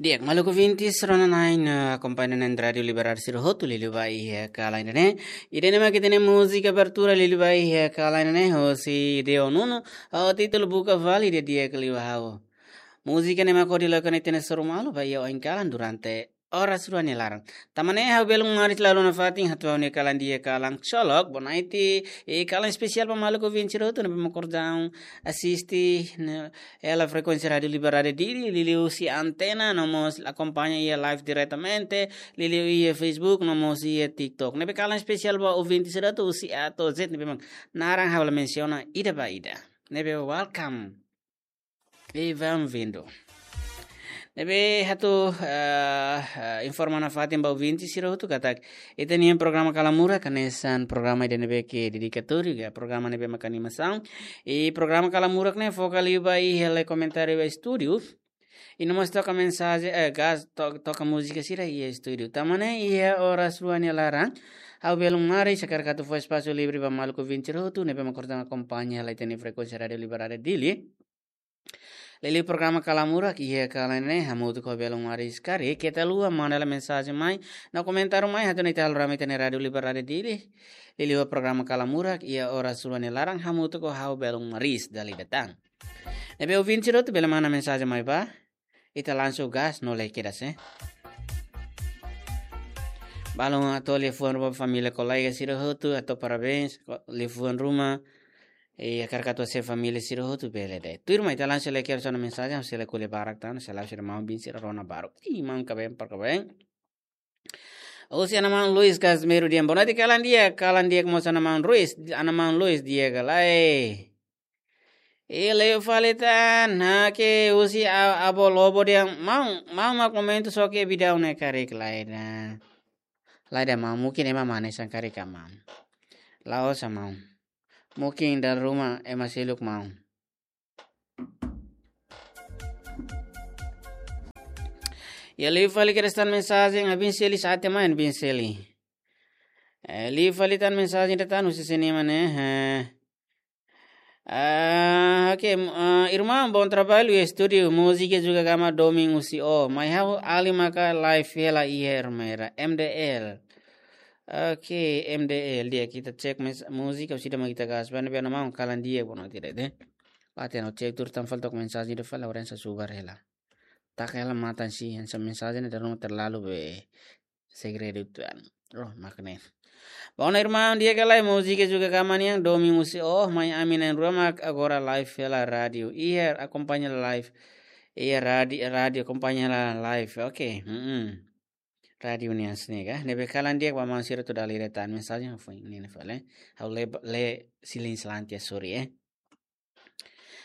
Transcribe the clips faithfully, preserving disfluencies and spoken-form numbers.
Di'ak, maluk ouvintes, rona-na'in, eh, akompaña na'in Rádiu Liberdade sira hotu, liuliu ba iha kalan ida-ne'e. Ida-ne'e mak ita-nia múzika abertura, liuliu ba iha kalan ida-ne'e, hosi Deo Nuno, ho títulu Buka Fali, di'ak-di'ak liu ha'u. Múzika ne'e mak hodi loke ona ita-nia soru malu ba iha oin kalan durante oras rua nia laran. Tan ne'e ha'u belun maris la iha ona fatin hato'o ha'u-nia kalan di'ak, kalan ksolok, bonaiti, i kalan espesiál ba maluk ouvinte sira hotu ne'ebé mak kordang asiste, ne'e, hela frekuénsia Rádiu Liberdade Dili, liuliu husi antena, no mós akompaña iha live diretamente, liuliu iha Facebook, no mós iha TikTok. Ne'ebé kalan espesiál ba ouvinte sira hotu husi A to'o Z, ne'ebé mak naran ha'u la mensiona ida ba ida. Ne'ebé welcome. E bem-vindo. Ne'ebé ha'u atu, ah, ah, informa nafatin ba ouvinte sira hotu katak ita-nia programa Kalan Murak hanesan programa ida ne'ebé ke dedikatóriu, ka programa ne'ebé mak animasaun. I programa Kalan Murak ne'e foka liu ba iha lee komentáriu ba estúdiu. I no mós toka mensajen, eh, gas, to-, toka múzika sira iha estúdiu. Tan ne'e iha oras rua nia laran, ha'u belun maris hakarak atu fó espasu livre ba maluk ouvinte sira hotu ne'ebé mak kordang akompaña hela ita-nia frekuénsia Rádiu Liberdade Dili. Liuliu programa Kalan Murak iha kalan ne'e, hamutuk ho belun maris karik, keta haluha manda hela mensajen mai, no komentáriu mai, atu nune'e ita halo rame ita-nia Rádiu Liberdade Dili. Liuliu programa Kalan Murak iha oras rua nia laran, hamutuk ho ha'u belun maris dala ida tan. Ne'ebé ouvinte sira hotu bele manda mensajen mai ba, ita langsung gas no lee kedas, eh. Balun hato'o liafuan ruma família kolega sira hotu, hato'o parabéns, ko-, liafuan ruma, i hakarak atu hase'e família sira hotu bele de'it. Tuirmai ita langsung lee kedas ona mensajen, ha'u sei lee ko'alia barak tan, sei la sira maun bin sira rona baruk. Ih, maun kaben, par kaben. Husi Ana Maun Luis Casmiro dehan, bonaiti kalan di'ak, kalan di'ak mós Ana Maun Luis, Ana Maun Luis di'ak ka lae. I liu fali tan, hanesan husi a-, Avó Lobo dehan, maun, maun mak momentu só ke bidau ne'e karik lae ida. Lae ida maun, mungkin ema mane sang karik ka maun. La'ós maun. Mungkin dala ruma ema seluk maun. I liu fali kedas tan mensajen, abin seli sate main bin seli. Eh, liu fali tan mensajen ida tan husi sini mana, eh. Ah, oke, m-, ah, irmão, bom trabalho e estúdio, múzika juga gama domin husi o, mai ha'u alin maka live hela iha Ermera, M D L. Oke, M D L, di'ak ita cek mes-, múzika, husi ida mak ita gas, bana bana mau kalan di'ak, bonaiti de'it. Pate no cek tuur tan fali to'o mensajen ida fali, orang sa subar hela. Taka hela matan si, hanesan mensajen ida ruma terlalu be segredu tuan. Oh, mak ne'e. Bom, irmão, di'ak ka lae, múzika juga gama nian, domin husi o, mai ami na'in-rua mak agora live hela rádiu. Iha akompaña live. Iha rádiu, rádiu akompaña hela live. Oke. Mm-mm. Rádiu nian sini ka. Ne'ebé kalan di'ak ba maun sira hotu dala ida tan mensajen foi ne'e fali. Ha'u lee, lee silin selantia, sorry, eh.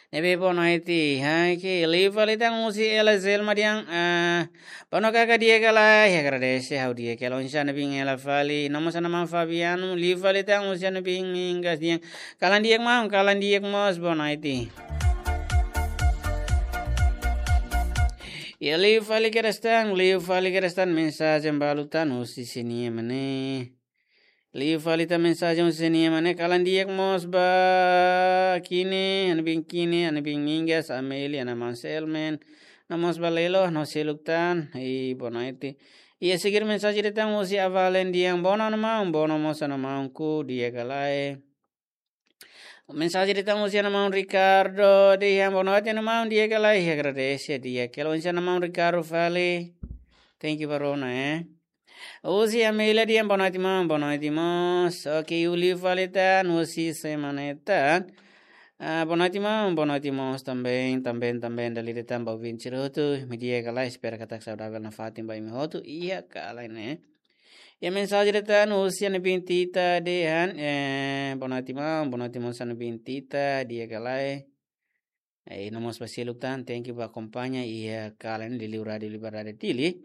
Ne'ebé bonaiti, hanesan liu fali tan husi Ela Zelma dehan, ah, bonaiti kalan di'ak ka lae, agradese ha'u di'ak ka lae, oinsá ne'ebé hela fali, no mós Ana Maun Fabiano, liu fali tan husi ne'ebé Mingas dehan, kalan di'ak maun, kalan di'ak mós, bonaiti. I liu fali kedas tan, liu fali kedas tan mensajen balu tan husi sini mana. Liu fali tan mensajen husi sini mana, kalan di'ak mós ba Kine, Ana Bin Kine, Ana Bin Mingas, Amelia, Ana Maun Selmen, no mós ba Lelo, no seluk tan, i bonaiti. I a seguir mensajen ida tan husi Avalen dehan, bonaiti maun, bonaiti mós Ana Maun, kalan di'ak ka lae. Mensajen ida tan husi Ana Maun Ricardo dehan, bonaiti Ana Maun, di'ak ka lae, agradese di'ak ka lae, oinsá Ana Maun Ricardo fali. Thank you ba rona, eh. Husi Amelia dehan, bonaiti maun, bonaiti mós. Oke, liu fali tan husi semana tan. Ah, bonaiti maun, bonaiti mós também, também, também, dala ida tan ba ouvinte sira hotu. Imi di'ak ka lae, espera katak saudavel nafatin ba imi hotu. Iha kalan ne'e. I mensajen ida tan husi Ana Bin Tita dehan, eh, bonaiti maun, bonaiti mós Ana Bin Tita, di'ak ka lae. Eh, no mós ba seluk tan, thank you ba akompaña iha kalan ne'e liuliu Rádiu Liberdade Dili.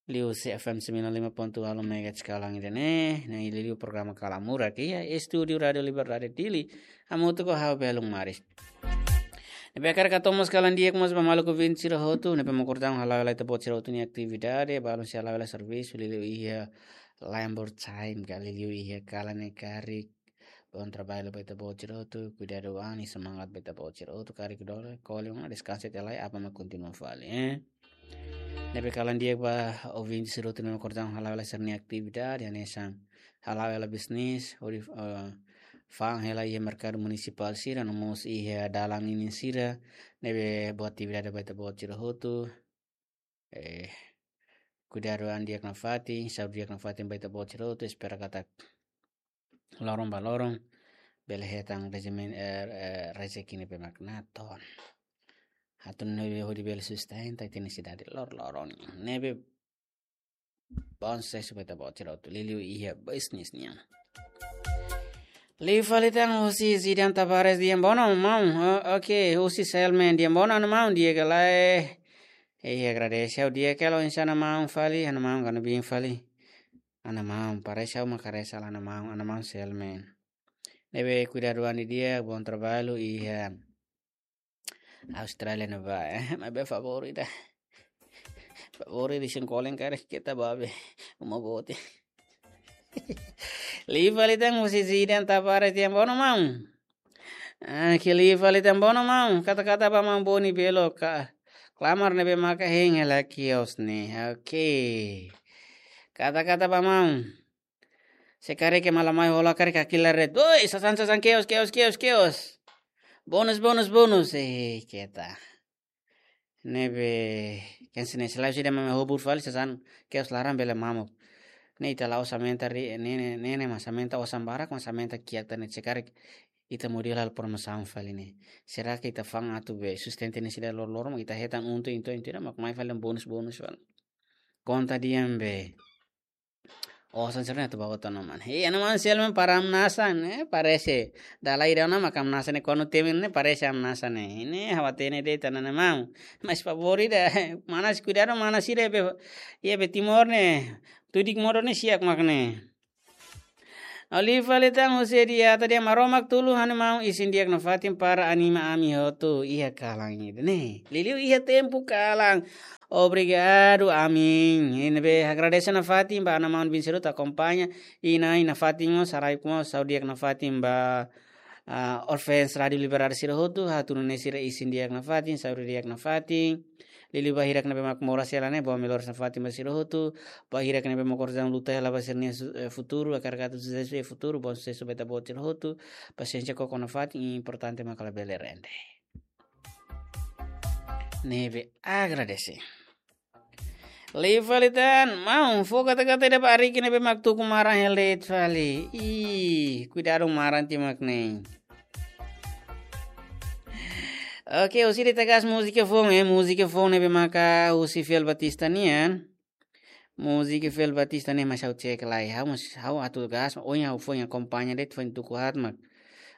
Liuhusi F M sembilan lima ponto nol megahertz kalan ida-ne'e, no liuliu programa Kalan Murak iha estúdiu Rádiu Liberdade Dili. Hamutuk ho ha'u belun maris. Ne'ebé hakarak hato'o mós kalan di'ak mós ba maluk ouvinte sira hotu, ne'ebé mak kordang hala'o hela ita-boot sira hotu nia atividade, balun sei hala'o hela servisu, liuliu iha labor time, ka liuliu iha kalan ne'e karik. Bom trabalho ba ita-boot sira hotu, kuidadu an, semangat ba ita-boot sira hotu, karik dole, kole, deskansa tiha lai, aban mak kontinua fali, eh. Ne'ebé kalan di'ak ba ouvinte sira hotu ne'ebé mak orsida hala'o hela sira-nia atividade, hanesan hala'o hela bisnis, hodi, eh, fa'an hela iha merkadu munisipál sira, no mós iha dalan ninin sira, ne'ebé buat atividade ba ita-boot sira hotu. Eh, kuidadu an di'ak nafatin, saúde di'ak nafatin ba ita-boot sira hotu, espera katak loron ba loron bele hetan rejimen, eh, eh, rezeki ne'ebé mak natoon. Atu nune'e hodi bele sustenta ita-nia sidade lor-loron. Ne'ebé bom susesu ba ita-boot sira hotu. Liuliu iha bisnis nian. Liu fali tan husi Zidan Tavares, di'ak, bono maun. O-, oke, husi Selmen, di'ak, bono, ha'u-nia maun, di'ak ka lae? Eh, agradese, ha'u di'ak hela, oinsá ha'u-nia maun fali, ha'u-nia maun kanu bin fali. Ha'u-nia maun, parese ha'u mak karesa hela ha'u-nia maun, ha'u-nia maun Selmen. Ne'ebé kuidadu an di'ak, bom trabalho, iha Austrália ne'ebá, eh, maibé favór ida. Favór ida, sin kolen karik keta ba be uma boot. Liu fali tan husi Zidan Tavares, di'ak, bono maun. Ah, ke liu fali tan, bono maun. Kata-kata ba maun Boni Belo ka klamar ne'ebé maka hein hela kios ne'e. Oke. Kata-kata ba maun. Se karik ema la mai hola karik hakilar de'it. Oi, sasán, sasán, kios, kios, kios, kios. Bónus, bónus, bónus. Eh, keta. Ne'ebé, ken sene selae sida mame hobur fali sasán kios laran bele mamuk. Ne'e ita la'ós aumenta ri, ne'e, ne'e, ne'e, ne'e mas aumenta osan barak, mas aumenta kiak tan ne'e se karik ita modelu halo promosaun fali ne'e. Será que ita fa'an atu be sustenta ne'e sida lor-loron, ita hetan untung, untung, untung, mak mai fali bónus, bónus fali. Konta di'ak be. Osan sira-ne'e atu ba hotu ona, maun. Hei, ha'u-nia maun Selmen para hamnasa ne'e, parese. Dala ida ona mak hamnasa ne'e, kuandu temi ne'e parese hamnasa ne'e. Ne'e ha'u hatene de'it ha'u-nia maun. Mas favór ida, manas kuidadu, manas sira be, iha be Timor ne'e. Tudik modo ne'e siak mak ne'e. Liu fali tan husi Diata, di'ak, Maromak tulun ha'u-nia maun isin di'ak nafatin para anima ami hotu iha kalan ida-ne'e. Liuliu iha tempu kalan. Obrigadu, amin. Ne'ebé agradese nafatin ba ha'u-nia maun bin sira hotu akompaña. Inan-aman nafatin mós, sira-ne'e mós, saúde di'ak nafatin ba, ah, Orfeus Rádiu Liberdade sira hotu, ha'u hatudu nune'e sira isin di'ak nafatin, saúde di'ak nafatin. Liuliu ba hirak ne'ebé mak moras hela ne'e, boas melhoras nafatin ba sira hotu. Ba hirak ne'ebé mak orsida luta hela ba sira-nia su-, eh, futuru, hakarak atu susesu iha futuru, bom susesu ba ita-boot sira hotu. Pasiénsia koko nafatin, importante mak labele rende. Ne'ebé agradese. Liu fali tan, maun, fó kata-kata ida ba Ariki ne'ebé mak tuku maran hela de'it fali. Ih, kuidadu maran tiha mak ne'e. Oke, husi ida ita gas múzika foun, eh, múzika foun ne'ebé maka husi Fiel Batista nian. Múzika Fiel Batista ne'e mas ha'u cek lai. Ha'u mós, ha'u atu gas, ohin ha'u foin akompaña de'it, foin tuku haat mak.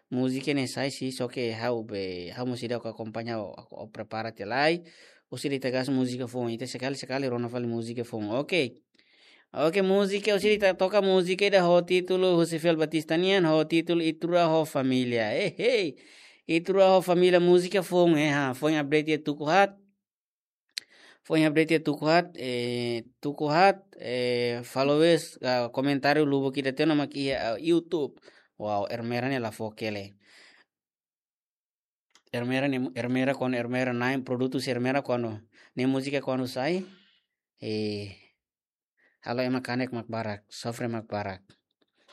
Múzika ne'e sai si, só ke ha'u be, ha'u mós seidauk akompaña, ha'u, ha'u prepara tiha lai. Husi ida ita gas múzika foun, ita sekali-sekali rona fali múzika foun. Oke. Oke, múzika, husi ida ita toka múzika ida ho títulu, husi Fiel Batista nian, ho títulu Ita Rua ho Família. Eh, hei. Ita Rua ho Família, múzika foun, eh, ha, foin update iha tuku haat. Foin update iha tuku haat, eh, tuku haat, eh, followers, ah, komentáriu lubuk ida tiha ona mak iha, ah, YouTube. Wow, Ermera ne'e la fó kele. Ermera ne'e, Ermera kuandu Ermera na'in, produtu husi Ermera kuandu, ne'e múzika kuandu sai, eh, halo ema kanek mak barak, sofre mak barak.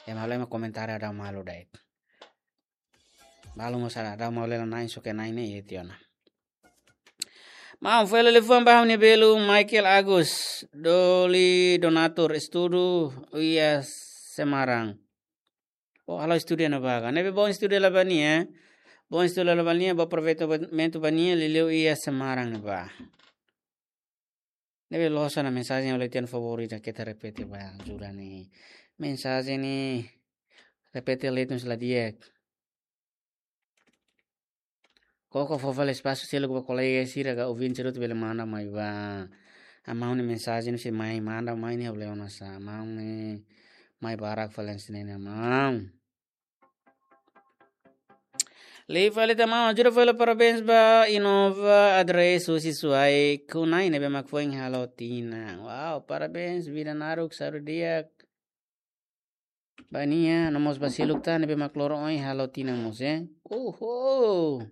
Ema halo ema komentáriu dada malu de'it. Balu mós dada malu hela na'in, só ke na'in ne'e iha tiha ona. Maun, fó hela liafuan ba ha'u-nia belun Michael Agus, Doli Donatur, estudu iha Semarang. Oh, halo estudu iha ne'ebá ka. Ne'ebé bom estudu hela ba nia, eh. Bom estudu hela ba nia, bom aproveitamento ba nia, liuliu iha Semarang ne'ebá. Ne'ebé loos ona mensajen ha'u la hatene, favór ida keta repete ba, ajuda ne'e. Mensajen ne'e repete letra la di'ak. Koko fó fali espasu seluk ba kolega sira ka ouvinte sira hotu bele manda mai ba. Ha'u-nia maun nia mensajen sei mai manda mai ne'e ha'u la hatene oinsá. Maun ne'e mai barak fali hanesan ne'e maun. Liu fali tan maun, ajuda fali parabéns ba Inova Adres husi Suai Kunai ne'ebé mak foin halo tinan. Wow, parabéns, vida naruk, saúde di'ak ba nia, no mós ba seluk tan ne'ebé mak loron ohin halo tinan mós, eh. Uhu.